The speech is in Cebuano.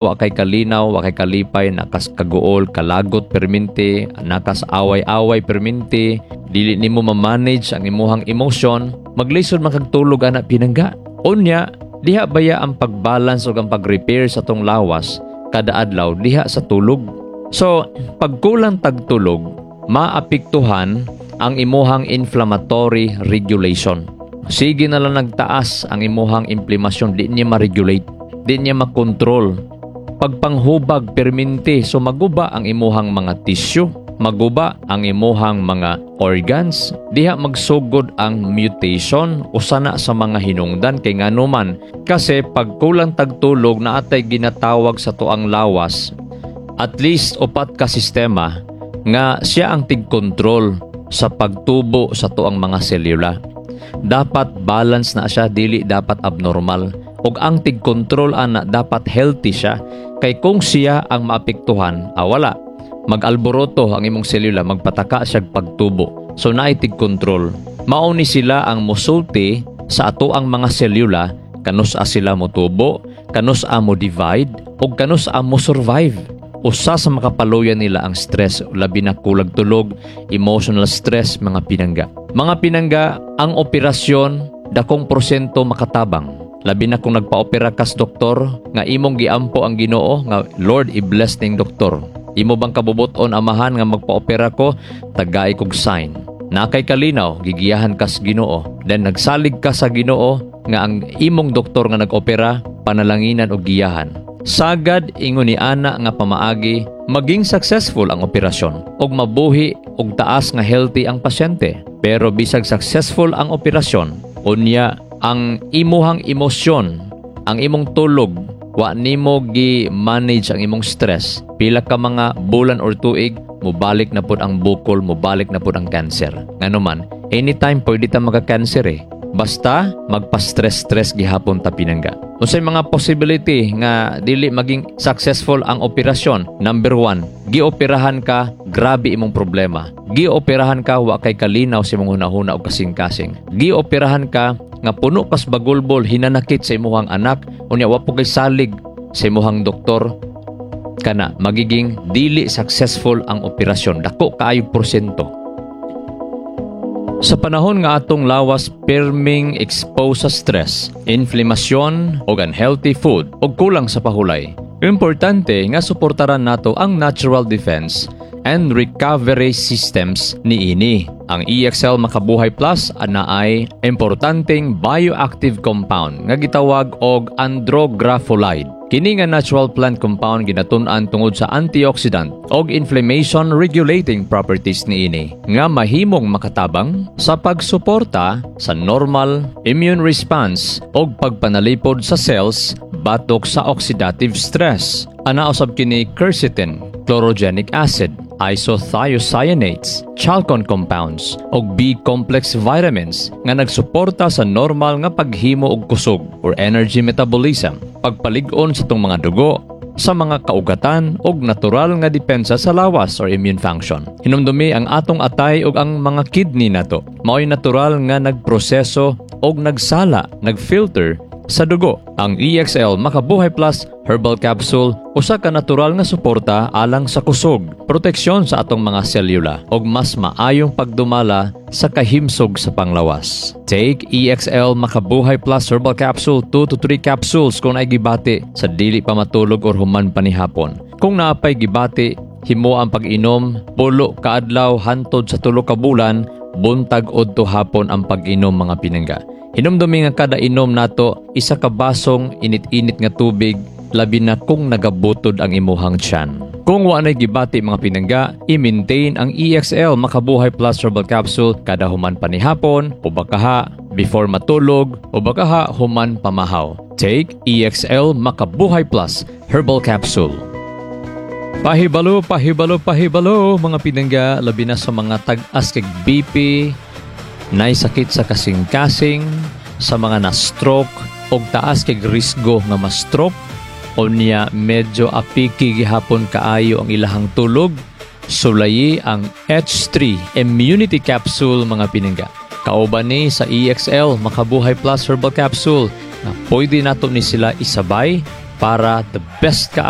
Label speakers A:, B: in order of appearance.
A: Wa kay kalinaw, wa kay kalipay, nakas kaguol, kalagot perminti, nakas away-away perminti, dili nimo ma-manage ang imuhang emotion, maglisod man kag tulog ana, pinangga. Unya, diha baya ang pagbalance ug ang pag-repair sa tong lawas kada adlaw diha sa tulog. So, pag kulang tag tulog, maapektuhan ang imuhang inflammatory regulation. Sige na lang nagtaas ang imuhang inflamasyon, di niya ma-regulate, di niya makontrol. Pagpanghubag perminti, so maguba ang imuhang mga tissue, maguba ang imuhang mga organs, diha magsugod ang mutation, usa na sa mga hinungdan. Kay nganuman kasi pag kulang tagtulog, naatay ginatawag sa tuang lawas at least upat ka sistema nga siya ang tig-control sa pagtubo sa tuang mga selula. Dapat balance na siya, dili dapat abnormal. Ug ang tig-control ana dapat healthy siya, kay kung siya ang maapektuhan, wala. Mag-alboroto ang imong selula, magpataka siya pagtubo. So naay tig-control. Mao ni sila ang musulti sa ato ang mga selula kanus-a sila motubo, kanus-a mo divide, ug kanus-a mo survive. Usa sa makapaluya nila ang stress, labi na kulag tulog, emotional stress, mga pinangga. Mga pinangga, ang operasyon dakong porsyento makatabang. Labi na kung nagpa-opera kas doktor nga imong giampo ang Ginoo nga, "Lord, i-bless ning doktor. Imo bang kabubuton, Amahan, nga magpa-opera ko, tagai kog sign." Na kay kalinaw, gigiyahan kas Ginoo. Then nagsalig ka sa Ginoo nga ang imong doktor nga nag-opera panalanginan og giyahan. Sagad ingon ni ana nga pamaagi, maging successful ang operasyon ug mabuhi og taas nga healthy ang pasyente. Pero bisag successful ang operasyon, unya ang imuhang emosyon, ang imong tulog, wa nimo gi-manage ang imong stress, pila ka mga bulan or tuig, mobalik na pud ang bukol, mobalik na pud ang cancer. Ngano man, anytime pwede ta maka-cancer eh. Basta magpa-stress-stress gihapon ta, pinangga. Unsay mga possibility nga dili maging successful ang operasyon? Number one, gioperahan ka, grabe imong problema. Gioperahan ka, wa kay kalinaw sa imong hunahuna o kasing-kasing. Gioperahan ka nga puno kas bagulbol, hinanakit sa imuhang anak, unya wa po kay salig sa imuhang doktor, kana magiging dili successful ang operasyon. Dako kaayo porsyento. Sa panahon nga atong lawas perming exposed sa stress, inflamasyon ug unhealthy food ug kulang sa pahulay, importante nga suportaran nato ang natural defense and recovery systems niini. Ang EXL Makabuhay Plus ana ay importanteng bioactive compound nga gitawag og andrographolide. Kini nga natural plant compound ginatun-an tungod sa antioxidant og inflammation regulating properties niini nga mahimong makatabang sa pagsuporta sa normal immune response og pagpanalipod sa cells batok sa oxidative stress. Ana usab kini quercetin, chlorogenic acid, isothiocyanates, chalcone compounds ug B-complex vitamins nga nagsuporta sa normal nga paghimo og kusog or energy metabolism, pagpalig-on sa tong mga dugo, sa mga kaugatan ug natural nga depensa sa lawas or immune function. Hinumdumi ang atong atay ug ang mga kidney nato. Mao'y natural nga nagproseso og nagsala, nagfilter sa dugo. Ang EXL Makabuhay Plus Herbal Capsule usa ka natural nga suporta alang sa kusog, proteksyon sa atong mga selula ug mas maayong pagdumala sa kahimsog sa panglawas. Take EXL Makabuhay Plus Herbal Capsule, 2 to 3 capsules kung naay gibati sa dili pa matulog or human panihapon. Kung naapay gibati, himo ang pag-inom 10 ka adlaw hantod sa 3 ka bulan, buntag udto hapon ang pag-inom, mga pinangga. Hinumdumi nga kada inom nato isa ka basong init-init nga tubig, labi na kung nagabutod ang imuhang tiyan. Kung wa nay gibati, mga pinangga, i-maintain ang EXL Makabuhay Plus Herbal Capsule kada human panihapon o bakaha before matulog o bakaha human pamahaw. Take EXL Makabuhay Plus Herbal Capsule. Pahibalo, pahibalo, pahibalo, mga pinangga, labi na sa mga tag-as kag BP, nay sakit sa kasing-kasing, sa mga na-stroke, og taas kag risgo nga ma-stroke, unya medyo apiki gihapon kaayo ang ilahang tulog, sulayi ang H3 Immunity Capsule, mga pinangga. Kauban ni sa EXL Makabuhay Plus Herbal Capsule na pwede nato ni sila isabay Para the best kaayo.